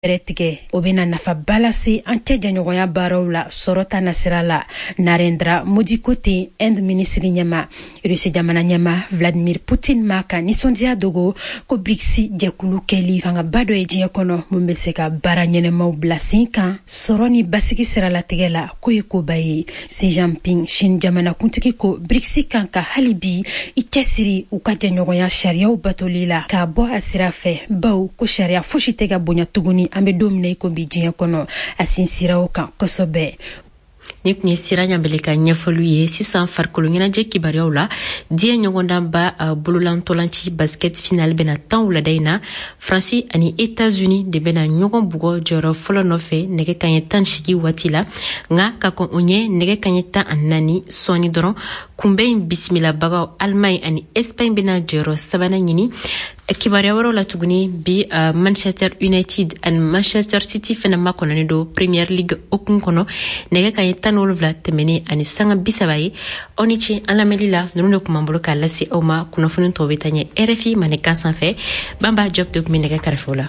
Fɛɛrɛ tigɛ, o bɛna nafaba lase an cɛ jɛɲɔgɔnya baaraw la sɔrɔ ta nasira la. Narendra Modi ko ten, Inde minisiri ɲɛma. Rusi jamana ɲɛma Vladimir Putin ma ka nisɔndiya dogo ko BRICS jɛkulu kɛli fangaba dɔ ye diɲɛ kɔnɔ mun bɛ se ka baara ɲɛnɛmaw bila sen kan sɔrɔ ni basigi siralatigɛ la, k'o ye koba ye. Xi Jinping, Chine jamanakuntigi, ko BRICS kan ka hali bi i cɛsiri u ka jɛɲɔgɔnya sariyaw batoli la k'a bɔ a sira fɛ, baw ko sariya fosi tɛ ka bonya tuguni an bɛ don min na i ko bi diɲɛ kɔnɔ. A sinsira o kan kosɛbɛ. Ni tun ye Sira Ɲabele ka ɲɛfɔliw ye. Sisan, farikolo ɲɛnajɛ kibaruyaw la, diɲɛ ɲɔgɔndanba bololantɔlanci basket final bɛna tan wulada in na. Faransi ani Etats-Unis de bɛna ɲɔgɔn bugɔ jɔyɔrɔ fɔlɔ nɔfɛ nɛgɛ kaɲɛ 18 waati la. Nka ka kɔn o ɲɛ, nɛgɛ kaɲɛ 14 sɔɔni dɔrɔn, kunbɛn in bisimilabagaw Allemagne ani Espagne bɛna jɔyɔrɔ sabanan ɲini. Kibaruya wɛrɛw la tuguni, bi Manchester United ani Manchester City fɛnɛ makɔnɔnen don Premier League hukumu kɔnɔ, nɛgɛ kaɲɛ 17 tɛmɛnen ani sanga 30 ye. Aw ni ce an lamɛnli la. Ninnu de kun b'an bolo k'a lase aw ma. Kunnafoni tɔw bɛ taa ɲɛ RFI Mandenkan sanfɛ. Banba Job de tun bɛ nɛgɛ kɛrɛfɛw la.